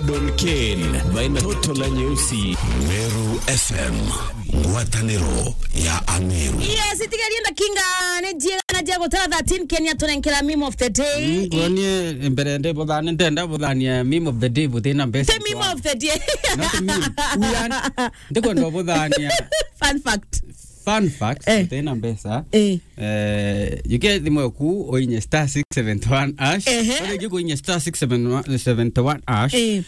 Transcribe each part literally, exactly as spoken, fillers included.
Don Ken, baina toto la nyeusi. Meru F M, ngwataniro ya Ameru. Yes, itigari enda kinga, ni jiega na jia gutara thirteen Kenya tunenkera meme of the day. Mm, kuonie mbere ndi buthani, ndenda buthania meme of the day butina mbeca. The meme of the day. Not meme. Uyan, ndikwenda buthania. Fun fact. Fun fact, eh, butina mbeca. Eh. Eh, you get the mwe ku oinye star six seven one hash. Ehe. Ore gi kuinye star six seven one, seven one hash. Eh.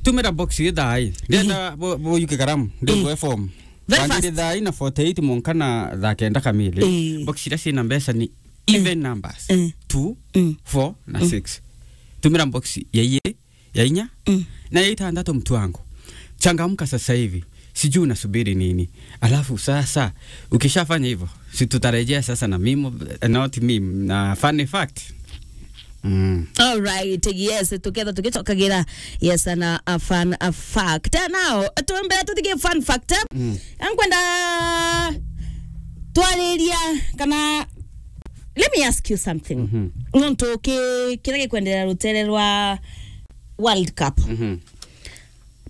Tumira box ithai. Ndenda bo, bo yuke karamu. Ndego form. Very fast. Wandire thaa ina forty-eight monka na thaa kenda kamili. Eh. Box iria ciina mbeca ni even numbers. Eh. Two, mm, four na six. Tumira box ya iye, ya inya, mm, na ya itandatu, mtu wangu. Changamka sasa hivi. Sijui unasubiri nini. Alafu sasa, ukishafanya hivyo, si tutarejea sasa na meme, eh, not meme, na funny fact. Mm. All right, yes, tuketha tugicokagira, yes, na a fun, a fact. Now, tumbere tuthikie fun fact. Mm. Ankwenda twariria kana, let me ask you something. Mhm. Nontu ki-, kiria gikwenderea rutere rwa World Cup. Mhm.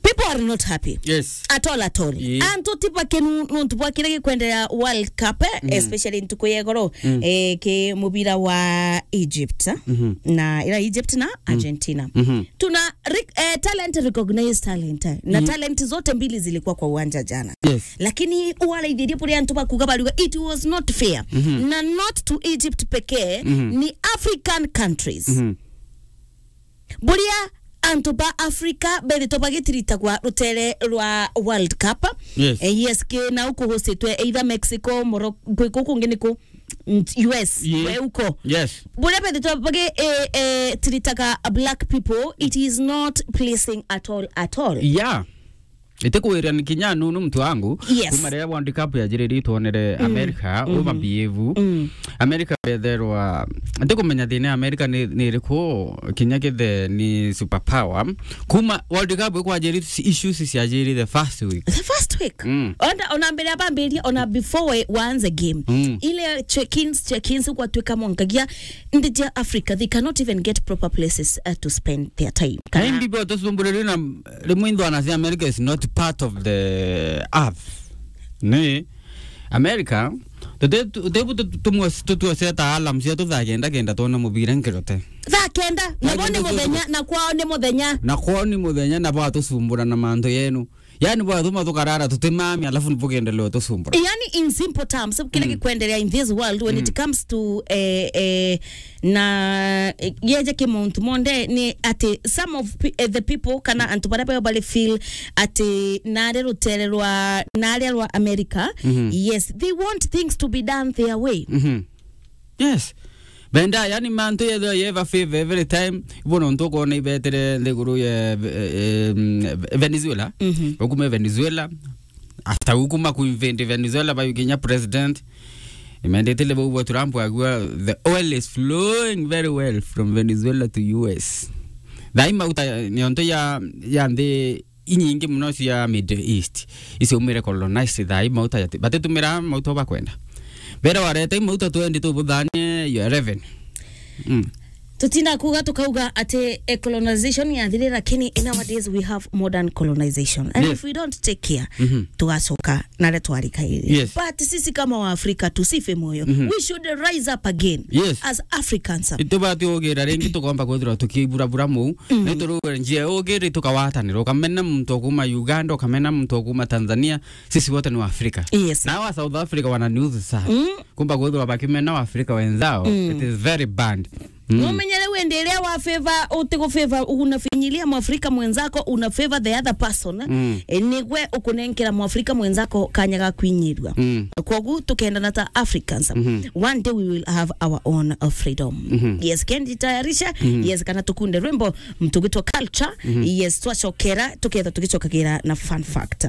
People are not happy. Yes. At all, at all. Yeah. Antu ti bakenu nontu bwa kiria gikwenderea World Cup, eh, mm, especially ntuku ya igoro, mm, eh, ki mubira wa Egypt, eh, mhm, na ira Egypt na, mm, Argentina. Mhm. Tuna ri-, eh, talent, recognize talent, eh, na, mhm, talent zote mbili zilikuwa kwa uwanja jana. Yes. Lakini waraithirie buria antu bakuga bariuga it was not fair. Mhm. Na not to Egypt pekee, mhm, ni African countries. Mhm. Buria antu ba Africa bethitwe bagitiritagwa rutere rwa World Cup. Yes. Eh, yes, ki na uku hostitwe either Mexico, Morocco, kwi kuku kungi ni ku, mm, U S, yeah, we uko. Yes. Buria bethitwe bagi-, eh, eh, tiritaga black people, it is not pleasing at all, at all. Yeah. Itikwirira ni kinya nunu, mtu wangu. Yes. Kuma riria World Cup yajiririe twonere, mm, America, mhm, ubabehave. Mm. America betherwa, itikumenya thina ya America ni, ni iriku, kinya kithe ni superpower. Kuma World Cup ikwajiri, issues ciajiri the first week. The first week. Mm. Ona, ona mbere ya bambiria, ona before we, waanze game. Mm. Ile check-ins, check-ins kwatwika mwankagia, nthi cia Africa, they cannot even get proper places, uh, to spend their time. Kana maybe bo tusumburirie na rimwe inthwana cia America is not part of the earth. Ni America, tute-, tu-, tebu tu-, tumwe-, tutuoseta alarm cia tu thaa kenda kenda twona mubira nkirote. Thaa kenda, na bo ni muthenya, na kwao ni muthenya. Na kwao ni muthenya, na bwatusumbura na mantu yenu. Yani bwatuma tukarara tutimami, alafu bukendelea tusumbura. Yani, in simple terms, kile, mm, gikwendelea in this world when, mm, it comes to, eh, eh, na, eh, yeje ki muntu monde ni ati some of pe-, eh, the people kana antu baria bayo bari feel ati nare rutere rwa, nare rwa America, mhm, yes, they want things to be done their way. Mhm. Yes. Benda, yani, mantu yethwa yeva favor every time. Ibo nontu ukwona ibetere nthiguru ya, eh, eh, mm, Venezuela. Mhm. Ukuma Venezuela, after ukuma ku invade Venezuela, bayukinya president. Imendetele bau bwa Trump agua, the oil is flowing very well from Venezuela to U S. Thaai mauta niontu ya, ya nthi inyingi muno cia Middle East, iciumire colonized thaai mauta jati-, batitumira mauta bakwenda. Mbere warete mauta twendi tubuthanie your revenue. Mm. Tutinda kuga tukauga ati, eh, colonization yathirire, lakini in nowadays we have modern colonization. And, yes, if we don't take care, mhm, tugacoka naria twarikaire. Yes. But sisi kama wa Afrika tusife moyo. Mhm. We should rise up again, yes, as Africans. Itubati ugira ringi tukomba kwithirwa tukiburabura muu. Mm. Ni turuge njia ugiri tukawatanira. Ukamena muntu wa kuma Uganda, ukamena muntu wa kuma Tanzania, sisi wote ni wa Afrika. Yes. Na wa South Africa wananiudhi sana. Mm. Kumba kwithirwa bakimena wa Afrika wenzao, mm, it is very bad. Mm. Numenyere wendi iria wa favor, utigu favor, unafinyilia Mwafrika mwenzako, una favor the other person. Mm. E, nigwe ukunenkera Mwafrika mwenzako kanya ga kwinyirua. Mm. Kwogu tukendana ta Africans. Mhm. One day we will have our own, uh, freedom. Mhm. Yes, kendi tayarisha. Mhm. Yes, kana tukunde rwimbo, mtugitwa culture. Mhm. Yes, twacokera, tuketha tugicokagira na fun fact.